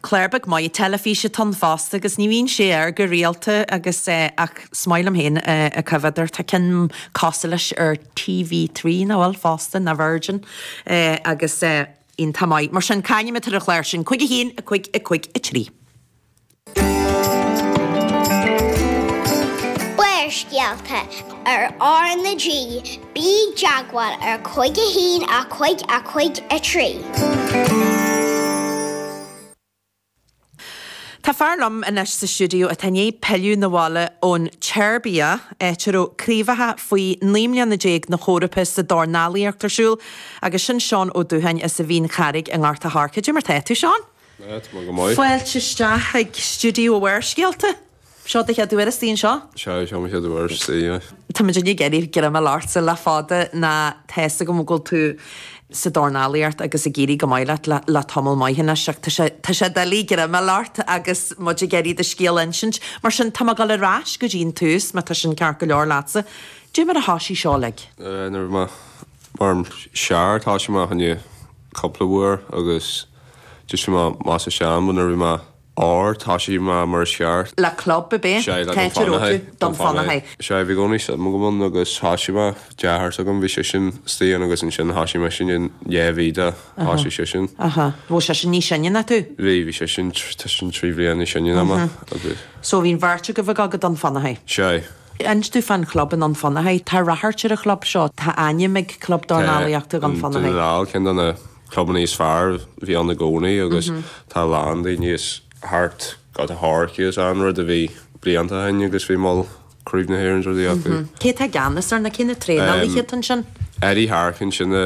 Clár beag maith teilifíse atá ann fosta agus ní bhíonn sé air go rialta agus ach is maith liom féin a choimhéad air. Tá ceann cosúil leis ar TV3 nach bhfuil fosta, nó Virgin agus iontach maith. Mar sin, cá hainm atá ar an chlár sin? 5 1 5 5 3. Barrscéalta ar R na G, bí i dteagmháil ar 5 1 5 5 3. Tá fear liom anois sa stiúideo atá i ndiaidh pilleadh 'na bhaile ón tSeirbia, áit a raibh craobhacha faoi 19 mbliana na hEorpa sa dornálaíocht ar siúl, agus sin Seán Ó Dúcháin as an Mhín Charraig i nGort a' Choirce. Cad é mar tá tú, Seán? Tá mé go maith. Fáilte isteach chuig stiúideo Bharrscéalta. Seo do chéad uair istigh anseo? Sea, seo mo chéad uair istigh, yeah. Tá muid ag iarraidh greim a fháil ortsa le fada ná tá fhios agam go bhfuil tú sa dornálaíocht agus ag éirí go maith leat le le tamall maith anois ach tá sé tá sé doiligh greim a fháil ort agus muid ag iarraidh do scéal a insint. Mar sin, tá mé ag dul ar ais go dtí an tús má tá sin ceart go leor leatsa. Dé mar a thoisigh seo uilig? Nuair a bhí mé mar sear thoisigh mé fá choinne cúpla uair agus just bhí mé maith sa sean but nuair a bhí mé ár thoisigh mé mar is ceart. Le club ab é? Sea, le Cá háit a raibh tú? Dún Fionnachaidh. Sea, bhí i gcónaí suim agam ann agus thoisigh mé, deartháir s'agam, bhí seisean istigh ann agus ansin thoisigh mise i ndiaidh mhí de, thoisigh seisean. Aha. Bhfuil seisean níos sine ná tú? Bhí, bhí seisean, tá seisean 3 bhliain níos sine ná mé agus. So bhí an bheirt agaibh ag dul go Dún Fionnachaidh? Sea. Inis domh fán chlub i nDún Fionnachaidh. Tá ráchairt ar an chlub seo. Tá ainm ag Club Dornálaíochta Dhún Fionnachaidh. Tá, Dún na nGall, ceann de na clubanna is fearr a bhí ann i gcónaí agus tá a lán daoine as thart Gort a' Choirce is an rud a bhí blianta ó shin agus bhí mol Craobh na hÉireann is rudaí acu. Cé atá i gceannas air nó cé na traenálaithe atá ansin? Eddie Harkin sin a.